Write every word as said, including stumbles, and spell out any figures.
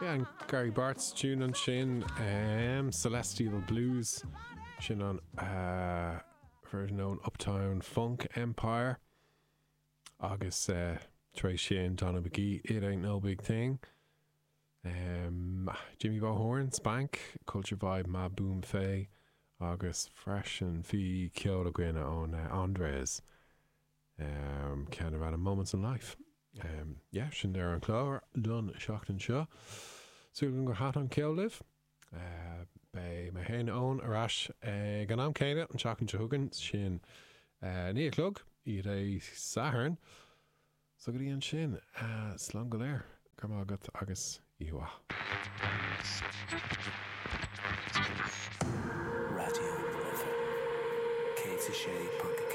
Yeah, an Gary Bartz tune ansin um, Celestial Blues sin an uh, version ón Uptown Funk Empire agus uh, tar éis sin Donna McGee It Ain't No Big Thing. Um, Jimmy Bo Spank, Culture Vibe Ma Boom Fay agus freisin bhí ceol againn ón uh, Andres um, ceann a Moments in Life. Um, yeah, sin ar an chlár don seachtain seo. Súil gur thaitin an ceol libh. Uh, Beidh mé féin ann ar ais ag an am céanna an seachtain seo chugainn sin uh, naoi a chlog Dé Sathairn. So go dtí ansin uh, slán go léir go raibh maith agat agus oíche Raidió na Life céad a sé ponc